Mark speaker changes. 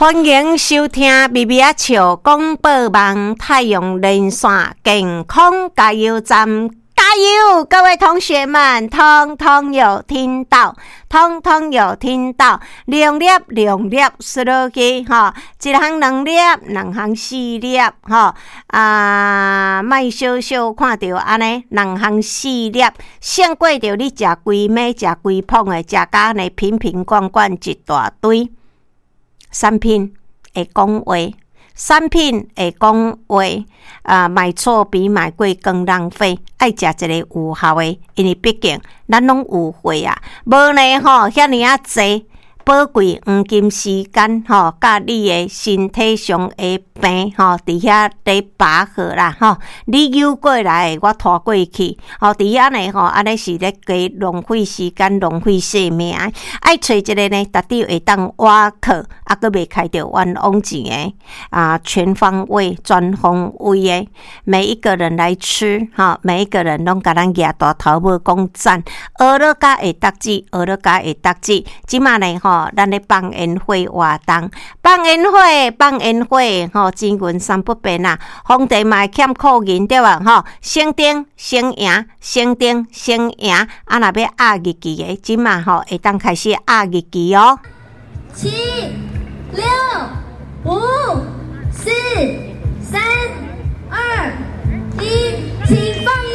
Speaker 1: 歡迎收聽微微仔笑廣播網太陽連線健康加油站，加油！各位同學們，通通有聽到，通通有聽到，兩粒兩粒嗍落去吼，一項兩粒，兩項四粒吼，啊，莫小小看著按呢，兩項四粒，勝過著你食規暝食規捧的，食甲按呢瓶瓶罐罐一大堆。產品會講話，產品會講話，啊，買錯比買貴更浪費。愛食一个有效的，因為畢竟咱攏有歲啊，無呢吼，遐爾仔濟寶貴黃金時間吼，佮你的身體上的病吼，佇遐咧拔河啦吼，你扭過來，我拖過去，吼，佇遐呢吼，按呢是咧加浪費時間、浪費生命。愛揣一个呢，絕對會當倚靠，啊，閣袂開著冤枉錢的，啊，全方位、全方位的，每一個人來吃，吼，每一個人攏共咱舉大頭拇講讚，學了甲會得志，學了甲會得志。這馬呢吼，咱咧放煙火活動，放煙火，放煙火，吼，錢銀三不變啊，皇帝嘛會欠庫銀對無？吼，省燈省贏，省燈省贏，啊，若欲壓日期的，這馬吼會當開始壓日期哦。
Speaker 2: 七、六、五、四、三、二、一，請放。